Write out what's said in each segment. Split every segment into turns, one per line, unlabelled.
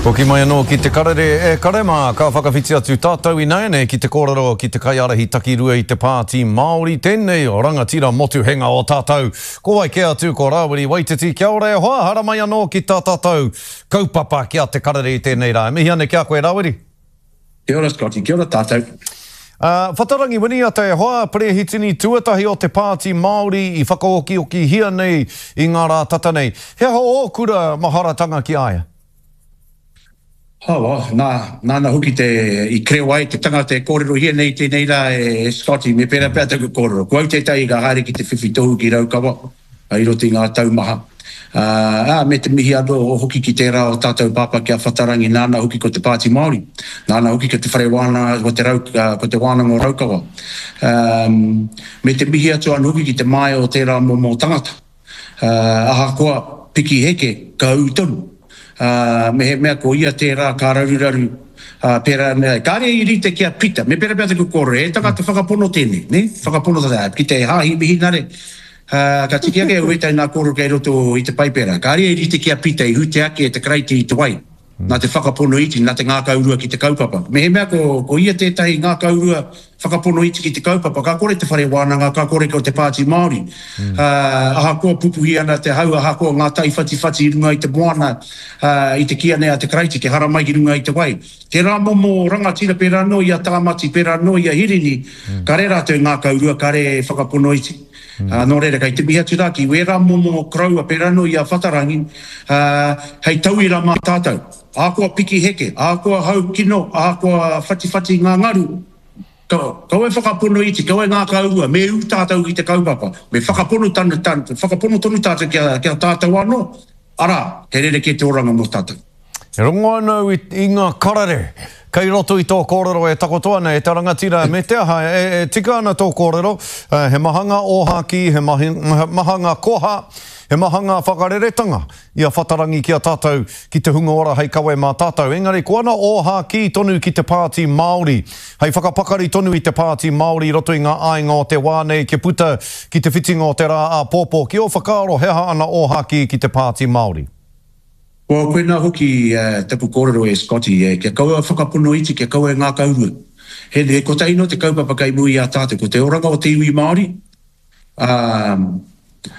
Hoki mai anō ki te karere e kare mā, ka whakawhiti atu tātou ināianei ki te kōrero ki te kaiārahi takirua i te Pāti Māori, tēnei rangatira motuhenga o tātou. Ko wai kē atu ko Rāwiri Waititi, kia ora e hoa, haramai anō ki tā tātou kaupapa ki a Te Karere i tēnei rā. E mihi ana ki a koe Rāwiri.
Kia ora Scotty, kia ora tātou.
A, Whatarangi Winiata e hoa, perehitini tuatahi o te Pāti Māori i whakaokiokihia nei i ngā rā tata nei. He aha ō kura maharatanga ki a ia?
Oh, well, nā, nāna hoki te, i kreo ai te tangata e kōrerohia nei i tēnei rā e Scotty, me pērā pea taku kōrero. Ko au tētahi ka haere ki te whiwhi tohu ki Raukawa. I roto i ngā tau maha. Ā, me te mihi anō hoki ki tērā o tātou pāpā ki a Whatarangi, nāna hoki ko te Pāti Māori, nāna hoki ko te Whare Wānanga, ko te Rau, ko te Wānanga o Raukawa. Ā, me te mihi atu anō hoki ki te māia o tērā momo tangata. Ā, ahakoa piki heke, ka ū tonu. Ā, mehemea ko ia tērā ka raruraru, ā, pērā, kāre i rite ki a Pita, me pērā pea taku kōrero, he tangata whakapono tēnei, nē, whakapono tata, ki te Hāhi Mihinare, Ā, ka tiki ake au ētahi ngā kōrero kei roto i te Paipera. Kāre e rite ki a Pita i hute ake e te Karaiti i te wai, nā te whakapono iti, nā te ngākaurua ki te kaupapa. Mehemea ko, ko ia tētahi ngākaurua whakapono iti ki te kaupapa, ka kore te whare wānanga, ka kore ko te Pāti Māori. Ā, ahakoa pupuhi ana te hau, ahakoa ngā tai whatiwhati i runga i te moana, ā, i te kīa nei a te Karaiti kia haramai ki runga i te wai. Tērā momo rangatira pērā anō i a Tāmati, pērā anō i a Hirini, kare rātou e ngākaurua, kare e whakapono iti. Nō reira, kei te mihi atu rā ki wērā momo koroua pērā anō i a Whatarangi, hei tauira mā tātou. Ahakoa piki heke, ahakoa hau kino, ahakoa whatiwhati ngā ngaru, kaua e whakapono iti, kaua e ngākaurua, me ū tātou ki te kaupapa, me whakapono tonu tātou ki a tātou anō, arā, he rerekē te oranga mō tātou.
E rongo ana au i ngā karere kei roto i tō kōrero e takoto ana e te rangatira me te aha e tika ana tō kōrero, he maha ngā ōhākī, he maha ngā koha, he maha ngā whakareretanga i a Whatarangi ki a tātou, ki te hunga ora hei kawe mā tātou. Engari ko ana ōhākī tonu ki te Pāti Māori, hei whakapakari tonu i te Pāti Māori i roto i ngā āinga o te wā nei kia puta ki te whitinga o te rā āpōpō. Ki ō whakaaro he aha ana ōhākī ki te Pāti Māori?
Ko koinā hoki taku kōrero e Scotty, kia kaua e whakapono iti, kia kaua e ngākaurua. He, he kotahi noa te kaupapa kei mua i a tātou, ko te oranga o te iwi Māori, ā,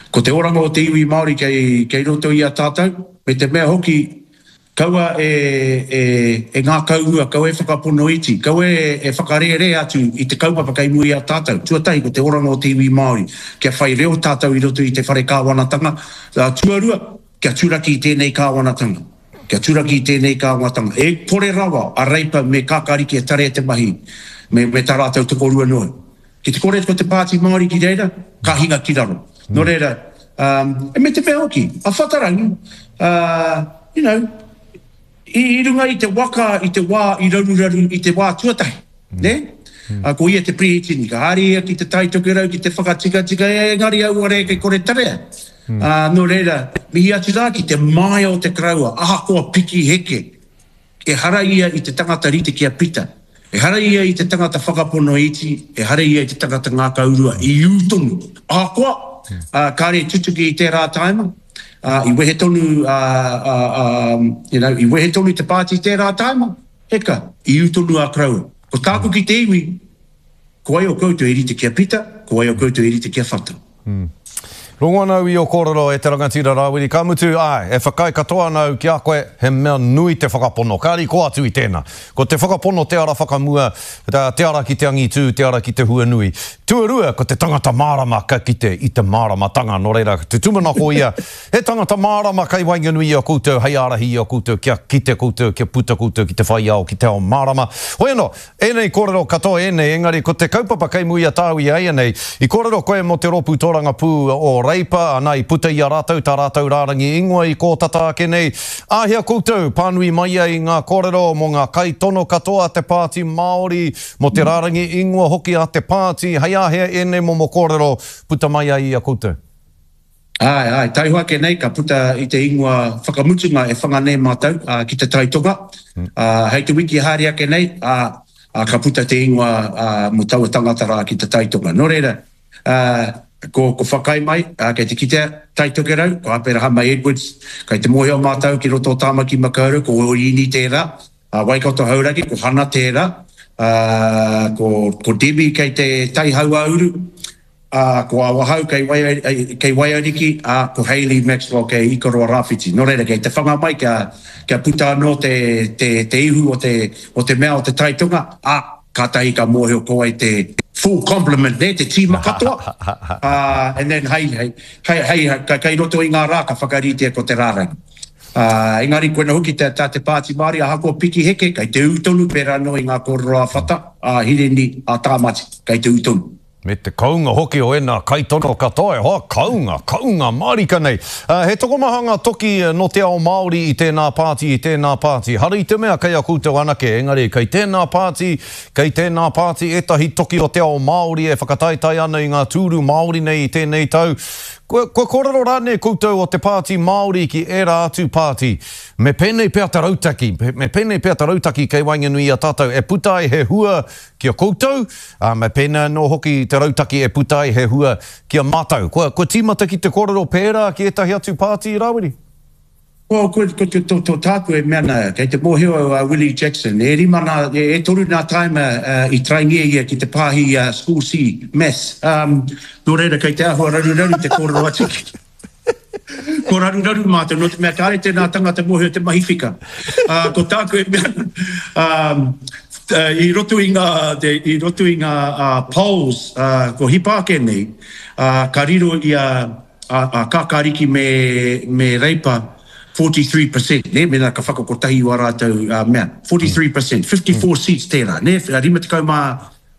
ko te oranga o te iwi Māori kei, kei roto i a tātou, me te mea hoki, kaua e, e, e ngākaurua, kaua e whakapono iti, kaua e, e whakarērē atu i te kaupapa kei mua i a tātou. Tuatahi, ko te oranga o te iwi Māori, kia whai reo tātou i roto i te whare kāwanatanga. Ā, tuarua, Kia turaki i tēnei kāwanatanga. Kia turaki i tēnei kāwanatanga. E kore rawa a Reipa me Kakariki e tarea te mahi me, me tā rātou tokorua noa. Ki te kore ko te Pāti Māori ki reira, ka hinga ki raro. Nō reira, um, me te mea hoki, a Whatarangi, uh, you know, I i runga i te waka i te wā i raruraru i te wā tuatahi, nē? Ā, ko ia te Pirihitini, ka haere ia ki Te Tai Tokerau ki te whakatikatika, engari auare kei kore tarea. Ā, nō reira, mihi atu rā ki te māia o te koroua, ahakoa piki heke, ehara ia i te tangata rite ki a Pita. Ehara ia i te tangata whakapono iti, ehara ia i te tangata ngākaurua, i ū tonu. Ahakoa, ā, kāre i tutuki i tērā tāima, ā, i wehe tonu, ā, ā, ā, you know, i wehe tonu te pāti i tērā tāima, heka, i ū tonu a koroua. Ko tāku ki te iwi, ko wai o koutou e rite ki a Pita, ko wai o koutou e rite ki a Whata.
Rongo ana au i ō kōrero e te rangatira Rāwiri, ka mutu, āe, e whakaae katoa ana au ki a koe, he mea nui te whakapono, kāri kō atu i tēnā. Ko te whakapono te ara whakamua, te ara ki te angitū, te ara ki te huanui. Tuarua, ko te tangata mārama ka kite i te māramatanga, nō reira, te tūmanako ia, he tangata mārama kei waenganui i a koutou hei ārahi i a koutou kia kite koutou, kia puta koutou ki te whai ao, ki te ao mārama. Hoi anō, Ēnei kōrero katoa ēnei, engari ko te kaupapa kei mua i a tāu i āianei, i kōrero koe mō te rōpū tōrangapū o Reipa, ana i puta i a rātou tā rātou rārangi ingoa i kō tata ake nei. Āhea koutou pānui mai ai i ngā kōrero mō ngā kaitono katoa a te Pāti Māori, mō te rārangi ingoa hoki a te pāti, hei āhea ēnei momo kōrero puta mai ai i a koutou?
Āe, āe, taihoa ake nei ka puta i te ingoa whakamutunga e whanga nei mātou ki Te Tai Tonga. Hei te wiki haere ake nei, ā, ka puta te ingoa mō taua tangata rā ki Te Tai Tonga. Nō reira, ā, Ko, ko Whakai mai, ā, kei te kitea, Tai Tokerau, ko Aperahama Edwards, kei te mōhio mātou ki roto o Tāmaki Makaurau, ko Oriini tērā, ā, Waikato Hauraki, ko Hana tērā, ā, ko, ko Debbie kei te Tai Hauāuru, ā, ko Awahau kei Wai, kei Waiariki, ā, ko Hayley Maxwell kei Ikaroa Rāwhiti. Nō reira, kei te whanga mai kia, kia puta anō te, te, te ihu o te, o te mea o te Tai Tonga, ā, Kātahi ka mōhio ko wai te full complement nē, te tīma katoa, ā, and then hei, hei, hei, hei, kei roto i ngā rā ka whakaritea ko te rārangi. Ā, engari koina hoki tā, tā te Pāti Māori ahakoa piki heke, kei te ū tonu pērā anō i ngā kōrero a Whata, a Hirini, a Tāmati, kei te ū tonu.
Me te kounga hoki o ēnā kaitono katoa e hoa, kounga, kounga mārika nei. He tokomaha ngā toki nō te ao Māori i tēnā pāti, i tēnā pāti. Hara i te mea kei a koutou anake, engari kei tēnā pāti, kei tēnā pāti ētahi toki o te ao Māori e whakataetae ana i ngā tūru Māori nei i tēnei tau. Kua, kua kōrero rānei koutou o te Pāti Māori ki ērā atu pāti? Me pēnei pea te rautaki, me pēnei pea te rautaki kei waenganui i a tātou e puta ai he hua ki a koutou, ā, me pēnei anō hoki te rautaki e puta ai he hua ki a mātou. Kua, kua tīmata ki te kōrero pērā ki ētahi atu pāti, Rāwiri?
Ko, ko, ko te, to, to tāku e mea ana, kei te mōhio au a Willie Jackson, e rima nā, e, e toru nā tāima uh, i traingia ia ki te pāhi i a School C, Maths. Um, nō reira, kei te āhua raruraru te kōrero atu ki. Ko raruraru mātou, nō te mea kāre tēnā tangata mōhio te mahi whika. Ā, ko tāku e mea ana, ā, i roto i ngā, i roto i ngā polls, ā, ko hipa ake nei, ā, ka riro i a, a, a Kākāriki me, me Reipa 43%, nē, mēnā ka whakakotahi i wā rātou, ā, mea, 43%, 54 seats tērā, nē, 54 ngā,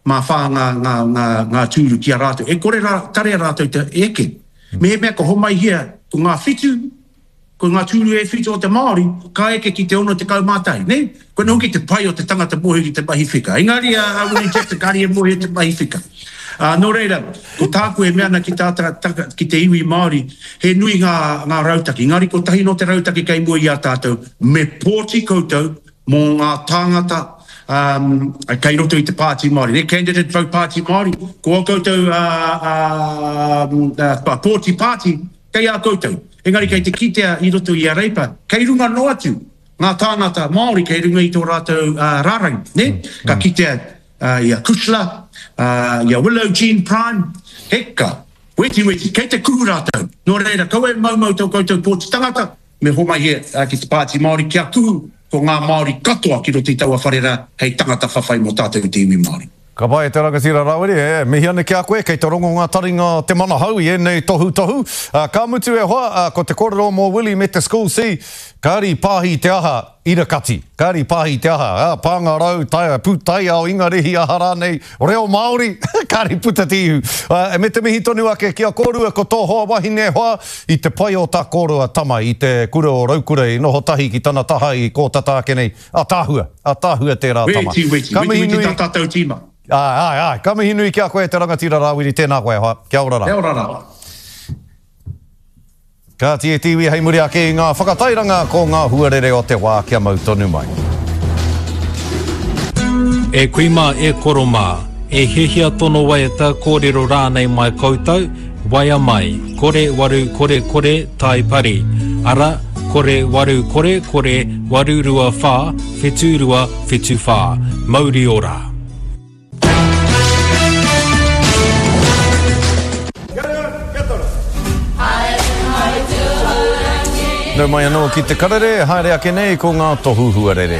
ngā, ngā, ngā tūru ki a rātou. E kore rā, tarea rātou te eke. Mehemea ka homaihia ko ngā whitu, ko ngā tūru e whitu o te Māori, ka eke ki te 61, nē? Koinā hoki te pai o te tangata mōhio ki te mahi whika. Engari a a Willie Jackson kāre e mōhio te mahi whika. Ā, nō reira, ko tāku e mea ana ki tā tā tā ki te iwi Māori, he nui ngā ngā rautaki, engari kotahi nō te rautaki kei mua i a tātou, me pōti koutou mō ngā tāngata um, kei roto i te Pāti Māori. Ne, candidate vote Pāti Māori, ko ā koutou uh, uh, pōti pāti kei a koutou. Engari kei te kitea i roto i a Reipa, kei runga noa atu ngā tāngata Māori kei runga i tō rātou uh, rārangi. Ne? Mm. Ka mm. kitea uh, i a Kushla, uh, i a Willow Jean Prime, heka, weti weti, kei te kuhu rātou. Nō reira, kaua e maumau tō koutou pōti tangata, Me homai he ki te Pāti Māori kia kuhu ko ngā Māori katoa ki roto i taua whare rā hei tangata whawhai mō tātou te iwi Māori.
Ka pai e te rangatira Rawiri, e mihi ana ki a koe, kei te rongo ngā taringa o te manahau i ēnei tohutohu. Ka mutu e hoa, ko te kōrero mō Willie me te School C, kāri pāhi te aha, irakati, kāri pāhi te aha, ā, pāngarau, taea, pūtaiao, Ingarihi, aha rānei, reo Māori, kāri puta te ihu. Ā, me te mihi tonu ake ki a kōrua ko tō hoa wahine e hoa, i te pai o tā kōrua tama i te kura o Raukura i noho tahi ki tana taha i kō tata ake nei, ātaahua, ātaahua tērā tama.
Weti, weti,
Ka
weti,
mihi
weti
nui.
tā tātou tīma.
Āe, āe, āe. Ka mihi nui ki a koe e te rangatira Rāwiri, tēnā koe e hoa. Kia ora rā.
Kia ora rā.
Kāti e te iwi hei muri ake i ngā whakatairanga ko ngā huarere o te wā kia mau tonu mai.
E kui mā, e koro mā, e hiahia tono waiata, kōrero rānei mai koutou, waea mai, kore waru kore kore tai pari, ara, kore waru kore kore 8 2 whā 7 2 7 whā. Mauri ora!
Nau mai anō ki te karere, haere ake nei ko ngā tohu huarere.